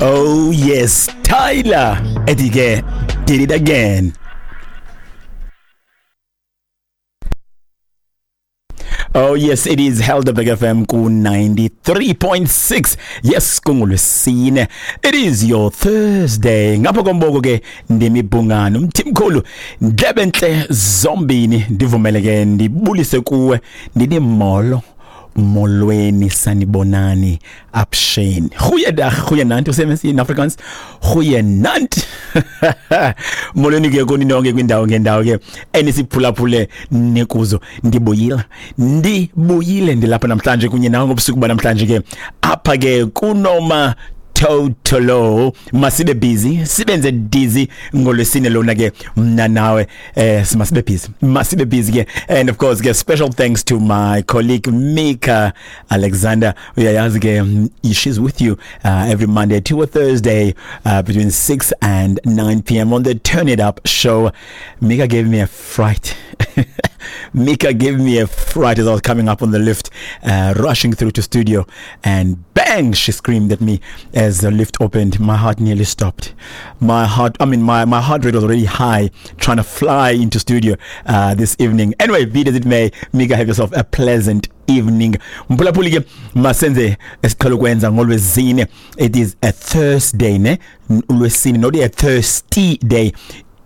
Oh yes, Tyler ethi ke did it again. Oh yes, it is Helderberg FM ku 93.6. Yes, kungolwesine. It is your Thursday. Ngapha komboko ke ndimibhungano umthimkhulu ndlebentle zombini ndivumele ke ndibulise kuwe ndithi molo. Molweni, sanibonani, apsheni. Goeiedag, goeienaand, hoe sê mens in Afrikaans? Goeienaand. Molweni ke kuni nonke kwindawo ngendawo ke enisiphulaphule nikuzo. Ndibuyile. Ndibuyile ndilapha namhlanje kunye nawe ngobusuku banamhlanje ke. Apha ke kunoma totolo masibe busy sibenze dizzy ngolwesine lona ke mna nawe masibe busy, masibe busy ke. And of course ke special thanks to my colleague Mika Alexander. Uyayazi ke, she's with you every Monday to a Thursday between 6 and 9 p.m. on the Turn It Up show. Mika gave me a fright. Mika gave me a fright as I was coming up on the lift, rushing through to studio, and bang, she screamed at me as the lift opened. My heart nearly stopped. My heart, I mean, my heart rate was already high trying to fly into studio this evening. Anyway, be it as it may, Mika, have yourself a pleasant evening. Mphulaphuli ke, masenze esiqhelo kwenza ngolwezine. It is a Thursday, ne? Ulwesine, not a thirsty day.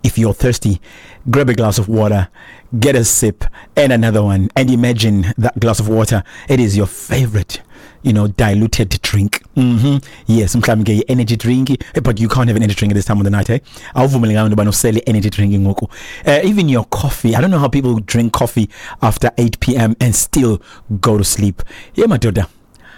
If you're thirsty, grab a glass of water, get a sip and another one, and imagine that glass of water, it is your favorite diluted drink. Yes, mhlawumbi ke i-energy drink, but you can't have an energy drink at this time of the night, eh? Awuvumelekanga into yobana usele energy drink ngoku. Even your coffee, I don't know how people drink coffee after 8 p.m. and still go to sleep. Yeah, madoda.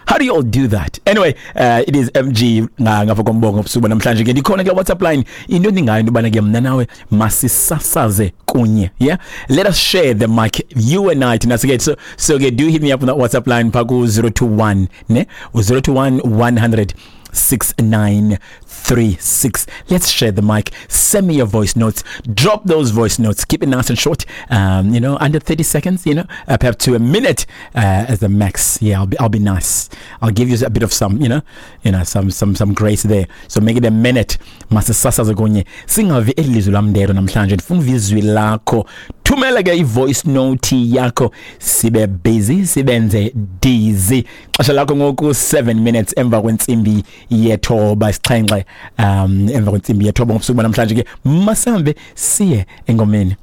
How do you all do that? Anyway, it is MG ngapha kombongo busuku namhlanje ke ndikhona ke WhatsApp line. Into endingayo into yobana ke mna nawe masisasaze kunye. Yeah? Let us share the mic, you and I, thina ke. So ke do hit me up on that WhatsApp line pha ku 021, ne? 021 100 6936. Let's share the mic. Send me your voice notes. Drop those voice notes. Keep it nice and short. Under 30 seconds, perhaps to a minute as the max. Yeah, I'll be nice. I'll give you a bit of some, some grace there. So make it a minute. Masisasaze kunye. Singavi elizwi lam ndedwa namhlanje. Ndifuna uva izwi lakho. Thumela ke i-voice note yakho, sibe busy sibenze dizzy. Xesha lakho ngoku 7 minutes emva kwentsimbi yethoba, 7 emva kwentsimbi yethoba ngobusuku banamhlanje ke. Masambe siye engomeni.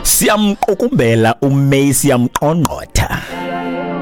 Siyamqukumbela uMay, siyamqongqotha.